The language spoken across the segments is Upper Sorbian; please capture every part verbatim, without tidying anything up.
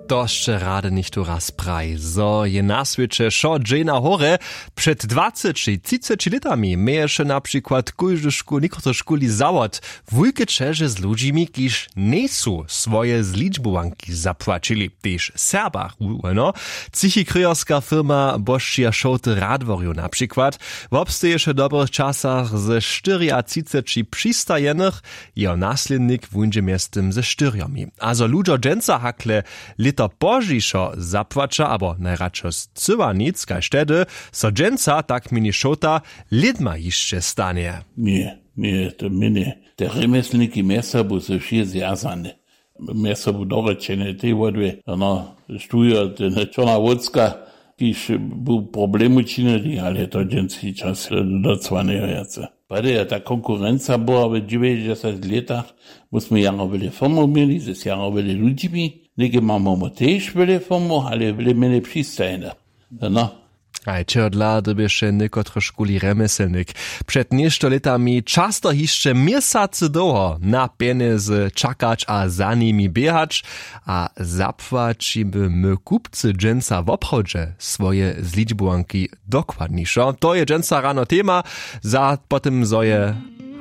To sće rady něchtó raz praji, zo je na swěće wšo dźeń na horje. Před dwaceći třiceći lětami měješe na přikład kóždy škól někotrychkuli zawod, wulke ćeže z ludźimi kiž njejsu swoje zličbowanki zapłaćili, tež w serbach wuhłeno. Třichikryjerska firma bošćija šołty radworju na přikład wobsteješe w dobrych časach ze štyriatřiceći přistajenych. Jeho naslědnik wuńdźe mjeztym ze štyrjomi. A zo ludźo dźensa hakle lěto pozdźišo zapłaća abo najradšo scyła nic kaž tehdy, so dźensa tak měni šołta lědma hišće stanje. Ně, ně, to měnje. Te rjemjeslniki mjez sobu su wšě zwjazane, mjez sobu dorěčene tej wodwě, no, štujo tena čorna wócka, kiž bu problem učinili, ale to dźenski čas docła njejo wjace. Prjedy je ta konkurenca była w dźewjećdźesatych lětach, my smy jaro wjele firmow měli z jaro wjele ludźimi, něke mamy tež wjele firmow, ale wjele mjenje přistajenych. No. Haj, čehodla dyrbiše někotrychkuli rjemjeslnik před něšto lětami často hišće měsacy dołho na pjenjezy čakać a za nimi běhać? A zapłaćimy my kupcy dźensa woprawdźe swoje zličbowanki dokładnišo? To je dźensa rano tema. Za po tym zo je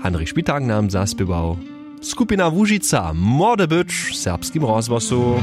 Handrich Špitak nam zaspěwał skupina Łužica, młody być w serbskim rozhłosu.